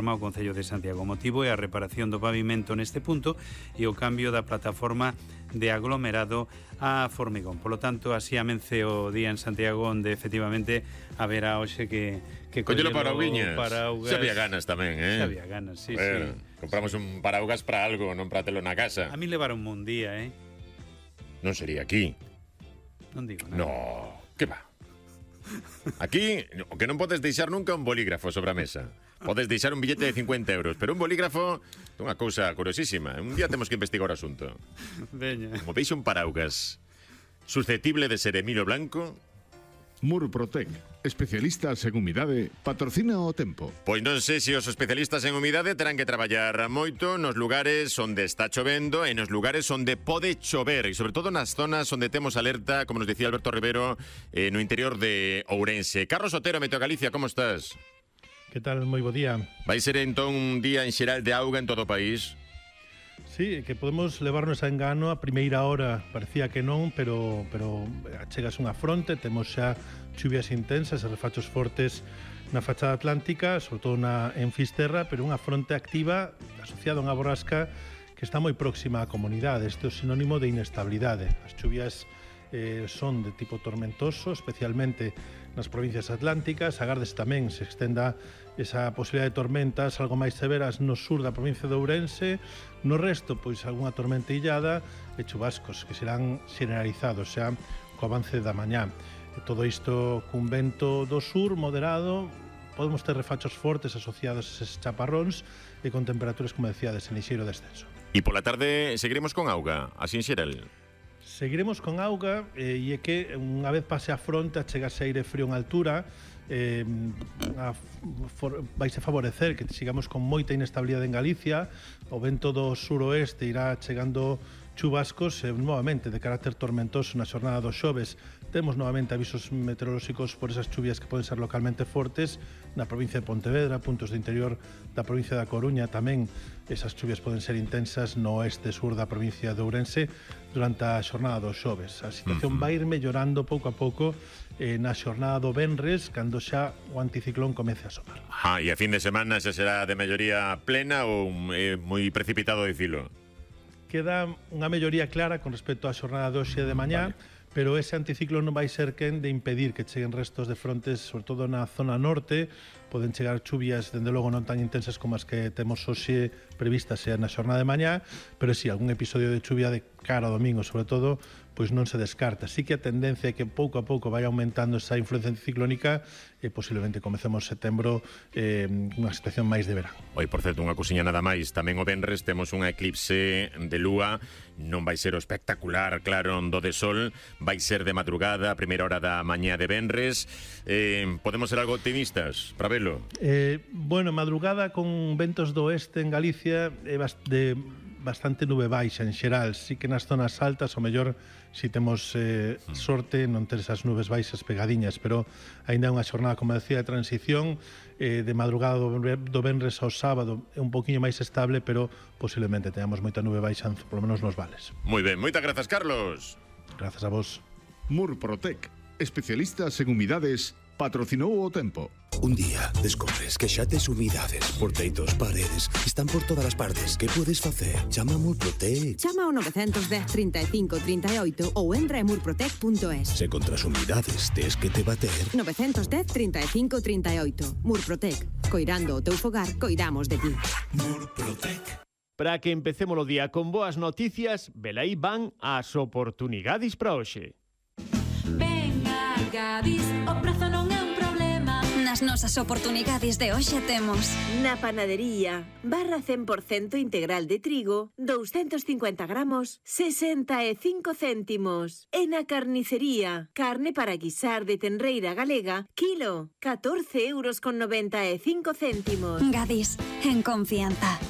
o Concello de Santiago. O motivo é a reparación do pavimento neste punto e o cambio da plataforma de aglomerado a formigón. Por lo tanto, así amence o día en Santiago, onde efectivamente haberá hoxe que collelo parauguiñas. Paraugas. Se había ganas tamén, Se había ganas, sí. Compramos un paraugas para algo, non para telo na casa. A mí levaron un día, Non sería aquí. Non digo nada. No, que va. Aquí, o que non podes deixar nunca un bolígrafo sobre a mesa. Podes deixar un billete de 50 euros, pero un bolígrafo é unha cousa curiosísima. Un día temos que investigar o asunto. Veña. Como veis un paraugas susceptible de ser Emilio Blanco, Murprotec, especialistas en humidade, patrocina o tempo. pois non sei se os especialistas en humidade terán que traballar moito nos lugares onde está chovendo e nos lugares onde pode chover, e sobre todo nas zonas onde temos alerta, como nos dicía Alberto Rivero, no interior de Ourense. Carlos Otero, Meteo Galicia, como estás? Que tal? Moi bo día. Vai ser entón un día en xeral de auga en todo o país? Sí, que podemos levarnos a engano a primeira hora, parecía que non, pero chegas unha fronte, temos xa chuvias intensas e refachos fortes na fachada atlántica, sobre todo en Fisterra, pero unha fronte activa asociada a unha borrasca que está moi próxima á comunidade. Isto é sinónimo de inestabilidade. As chuvias son de tipo tormentoso, especialmente nas provincias atlánticas. Agardes tamén se extenda esa posibilidade de tormentas algo máis severas no sur da provincia de Ourense. No resto, pois, algunha tormenta illada e chubascos que serán generalizados xa co avance da mañá. E todo isto cun vento do sur moderado. Podemos ter refachos fortes asociados a eses chaparróns e con temperaturas, como decíades, en lixeiro descenso. E pola tarde seguiremos con auga, así en xeral? Seguiremos con auga e é que unha vez pase a fronte achegase aire frío en altura, vaise favorecer que sigamos con moita inestabilidade en Galicia. O vento do suroeste irá chegando chubascos novamente de carácter tormentoso na xornada dos xoves. Temos novamente avisos meteorolóxicos por esas chuvias que poden ser localmente fortes na provincia de Pontevedra, puntos do interior da provincia da Coruña tamén. Esas chuvias poden ser intensas no oeste sur da provincia de Ourense durante a xornada dos xoves. A situación vai ir mellorando pouco a pouco na xornada do venres, cando xa o anticiclón comece a asomar. E a fin de semana xa será de melloría plena ou moi precipitado dicilo? Queda unha melloría clara con respecto á xornada de hoxe de mañá, pero ese anticiclón non vai ser quen de impedir que cheguen restos de frontes, sobre todo na zona norte. Poden chegar chuvias, dende logo non tan intensas como as que temos hoxe previstas na xornada de mañá, pero si algún episodio de chuvia de cara ao domingo, sobre todo, pois non se descarta. Sí que a tendencia é que pouco a pouco vai aumentando esa influencia ciclónica e posiblemente comecemos setembro unha situación máis de verán. Oi, por certo, unha cousiña nada máis. Tamén o venres temos un eclipse de lúa. Non vai ser o espectacular claro do de sol, vai ser de madrugada, a primeira hora da mañá de venres. Podemos ser algo optimistas para velo? Bueno, madrugada con ventos do oeste en Galicia é bastante nube baixa en xeral. Sí que nas zonas altas o mellor si temos sorte non ter esas nubes baixas pegadiñas, pero aínda é unha xornada, como decía, de transición. De madrugada do venres ao sábado é un poquinho máis estable, pero posiblemente teñamos moita nube baixa, por lo menos nos vales. Moi ben, moitas grazas, Carlos. Grazas a vos. Murprotec, especialistas en humidades, patrocinou o tempo. Un día descubres que xa tes humidades por teitos, paredes, están por todas as partes. Que podes facer? Chama a Murprotec. Chama ao 910 35 38 ou entra en murprotec.es. Se contra as humidades tes que te bater. 910 35 38. Murprotec. Coirando o teu fogar, coidamos de ti. Murprotec. Para que empecemos o día con boas noticias, velaí van as oportunidades para hoxe. Venga, Gadis, o prazo non é un problema. Nas nosas oportunidades de hoxe temos na panadería, barra 100% integral de trigo, 250 gramos, 65 céntimos. E na carnicería, carne para guisar de tenreira galega, kilo, 14,95 €. Gadis, en confianza.